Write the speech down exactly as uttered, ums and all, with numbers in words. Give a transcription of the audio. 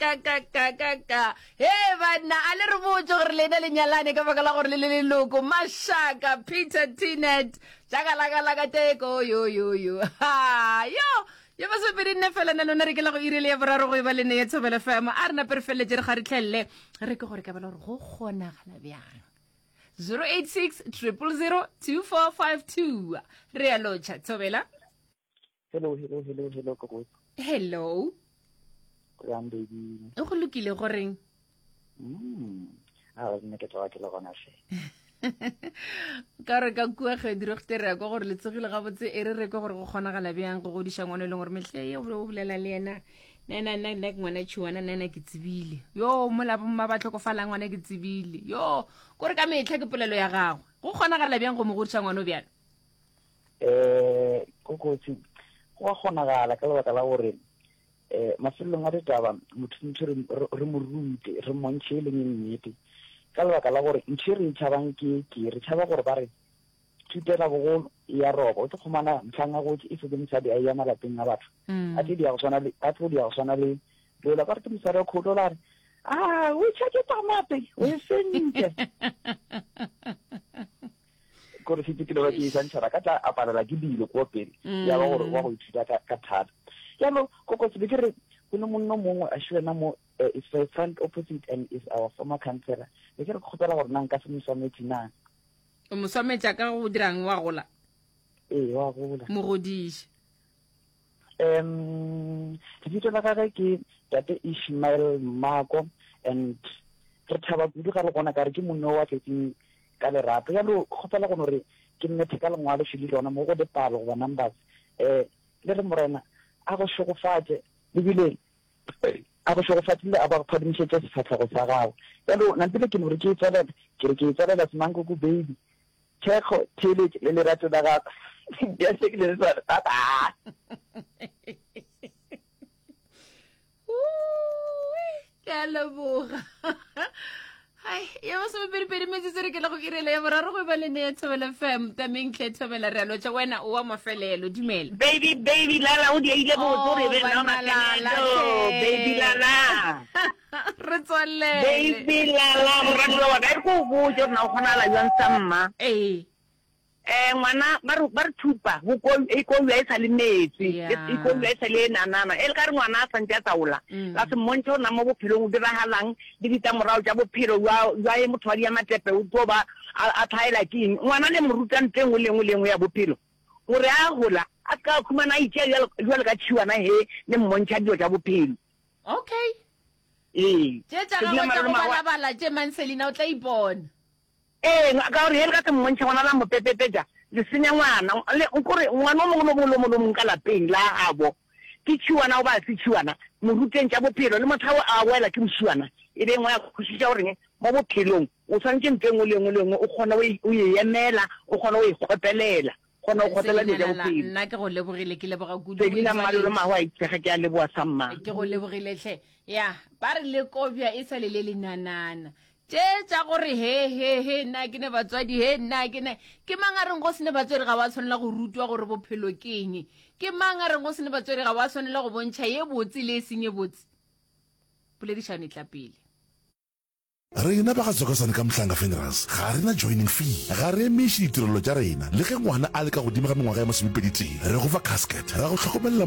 ka ka ka ka ka he banna a le re botse gore lena le nyalane ka baka la gore le le leloko mašaka peter tinet jakalakalaka teko yo yo yo ha yo yo masomepedi nne fela na lona re ke la go ire le ya boraro go e ba le ne ya thobela fm a re nape re feleletše re kgaritlhelele re ke gore ka bela gore go kgonagala bjang zero eight six triple zero two four five two re a lotšha thobela Hello, hello, hello, hello, Kokos. hello Jang baby. go lokile goreng Mm. Ah, nna ke tloga ke le gona hle. ka re ka kua kgediregte re ya kwa gore le tsogile gabotse e re re ke gore go kgonagala bjang go godiša ngwana e leng gore mehle ye o bolela le yena nna nna nna ke ngwana tšhiwana nna nna ke tsebile yo mola bomma ba tlhokofalang ngwana ke tsebile yo kore ka metlha ke polelo ya gagwe go kgonagala bjang go mo godiša ngwana o bjalo Eh, Kokotsi, go a kgonagala ka lebaka la gore eh mafelelong a ditaba motho ntho re re mo rute re mmontšhe e leng nnete ka lebaka la gore ntho e re e tšhabang ke ke re tšhaba gore ba re thutela bogolo ya roba o tlo khumana mtlhang a gotse e setse mosadi a ya malapeng a batho a tlo dia go tshwana le a tlo dia go tshwana le lola ba re ke mosadi wa kholo la re a o tšhake tamate o e sentse kore setse ke le ba ke e santšhara ka tla aparela ke dilo ko pele ya ba gore wa go ithuta ka ka thata jaanong kokotse be ke re go ne monno mongwe a wena mo eh, is my front opposite and is our former councillor be ke re kgopela gore na nka se mo swametše na o mo swametša ka go dirang wa gola ee wa gola mo godiše um lebitso la gagwe ke tate ishmael mako and re thaba kudu ga le gona ka re ke monne wa tletseng ka lerato jalo kgopela go no re ke mmethe ka lengwalo šele lona mo go dipalo goba numbers um le re morena a go šegofatše ebile a go šegofatše le a ba go phadimišetše sefahlego sa gago jalo nampile ke no re ke e tswalela ke re ke e tswalela semankoko baby thekgo theeletše le lerato la gago ya se ke le swana bye bye ke a leboga hai ya masomepedipedi metsotso re ke le go irela ya boraro go e ba le ne ya thobela fm tameng tlhe thobela re a lotša wena o wa mafelelo dumela baby baby lala o diaile botse o re be nna Oh, banna lala, mafelelo hle. baby lala re tswalele baby lala moratiwa wa ka e re ko o botse gore na o kgonagala jwang sa mma ee um ngwana ba re ba re thupa go ko- e kobiwa e sa le metsi Yeah. e kobiwa e sa le e nanana e le ka re ngwana a santse a taola Mm. la se mmontšhe gore na mo bophelong o diragalang le ditlamorago tša bophelo jwa jwa e motho wa dia matepe o tlo ba a a tlhaela ke eng ngwana le mo ruta ntho e nngwe le nngwe le nngwe ya bophelo gore a gola a se ka khumana a itšea jwalo jwalo ka tšhiwana he le mmontšha dilo tša bophelo okay ee tše tša Ke dula gagwe tša go malome wa- balabala tše manselina o tla ipona ee ka gore he le ka se mmontšhe ngwana la mo pepepetša le senya ngwana le kore ngwana o mongwe le mongwe le mongwe le mongwe ka lapeng la gabo ke tšhiwana goba a se tšhiwana mo ruteng tša bophelo le motho a wela ke mošiwana e be ngwe ya kwešiša goreng mo bophelong o tshwanetse ntho e nngwe le nngwe le nngwe o kgone o e- o e emela o kgone o e kgopelela kgone go kgotlela dilo tša Selina Lala, bophelo nna ke go lebogile ke leboga kudu selina O mmalolo itswaletše. mago a itsege ke a leboa sa mma ke go lebogile tlhe ya ba re le kobja e sa le le lenanana tše tša gore he he he nna ke ne batswadi he nna ke ne ke mang a reng go sene batswadi ga wa tshwanela go rutwa gore bophelo ke eng ke mang a reng go sene batswadi ga wa tshwanela go bontšha ye botse le e seng ye botse poledišano e tla pele Rena ba ga Tsokosane ka Mhlanga Funerals ga re na joining fee, ga re emiše ditirelo tša rena le ge ngwana a le ka godimo ga mengwaga ya masomepedi tee. Re go fa casket, ra go hlokomelela